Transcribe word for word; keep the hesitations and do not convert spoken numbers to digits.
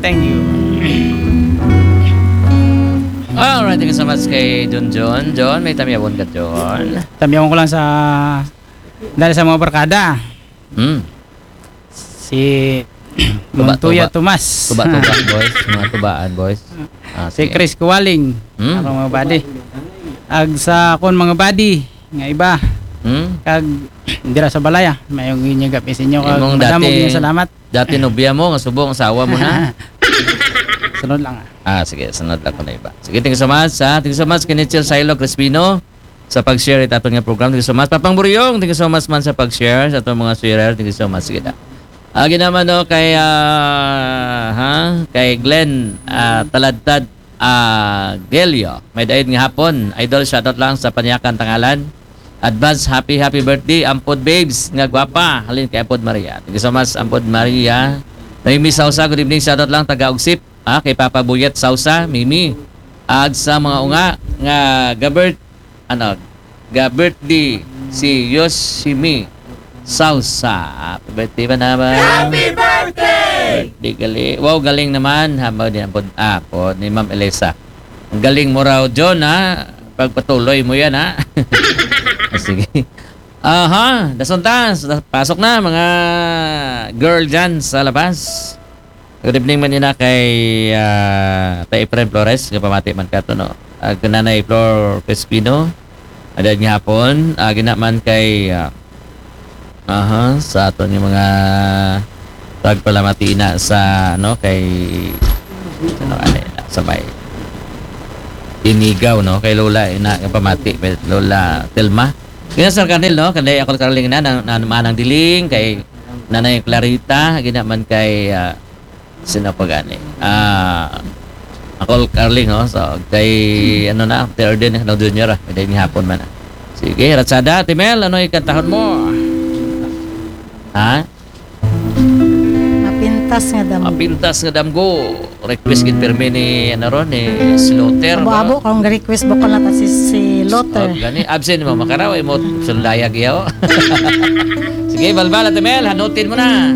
Thank you. Alright, thank you so much kay John John. John, may tamyawon ka, John? Tamyawon ko lang sa, dahil sa mga barkada. Hmm. Si Tuba, Montoya tuba. Tomas. Tuba-tuba, boys. Mga tubaan, boys. Ah, Si sige. Chris Kuwaling. Hmm. Ako mga buddy. Ag sa akon mga buddy nga iba. Hmm? Kag dira sa balaya, mayong inyag gabi sa inyo. Kag Imong madamo dati- gyud salamat. Dati nobya mo, nga subong asawa mo na. Sunod lang, ah. Ah, sige, sunod lang ko na iba. Sige, thank you so much, ha. Thank you so much, Kinichel Silo Crispino, sa pag-share ito atong nga program. Thank you so much. Papang Buryong, thank you so much man sa pag-share sa atong mga sharer. Thank you so much. Sige na. Agi naman, no, kay, ah, ha? Kay Glenn, ah, Taladtad, ah, Gelio. May daid nga hapon. Idol, shoutout lang sa Panyakan Tangalan. Advance happy, happy birthday, Ampod Babes, nga gwapa. Halin kay Ampod Maria. Thank you so much, Ampod Maria. Noemi Sausa, good evening. Shoutout lang, taga Ugsip. Ah, kay Papa Buyet Sausa, Mimi. Ag sa mga unga nga gabert, ano, ga-birthday si Yoshimi Sausa. Happy birthday ba naman? Happy birthday! Birthday gali. Wow, galing naman. Hamaw din ang pod, ah, pod ni Ma'am Elisa. Ang galing mo raw, John, ha? Pagpatuloy mo yan, ha? Ah, sige. Aha, dasuntas. Pasok na, mga girl dyan sa labas. Good evening man ina kay ah, Tay Efren Flores, nga pamati man kato, no? Ag Nanay Flor Crispino, adad nga hapon, agi na man kay ah, aha, sa aton nga mga pagpalamati na sa ano kay ano ani sa may Inigaw, no, kay Lola ina nga pamati, kay Lola Telma. Kaya Sir Carnel, no, kanday ako Carling na nang, nang manang diling kay Nanay Clarita, gina man kay ah, sino pa gani? Ah, ako Carling, no. So kay ano na, third din no Junior, ah, hindi ni hapon man. Ah. Sige, Ratsada, Timel, ano ikantahon mo? Ha? Mapintas nga damo. Mapintas nga damgo. Request gid permi ni ano ron ni Slaughter. Abo-abo kung request bukol na ta si, si Lotter. Oh, gani absent mo makaraw mo sundayag yaw. Sige, balbal Ate Mel, hanutin mo na.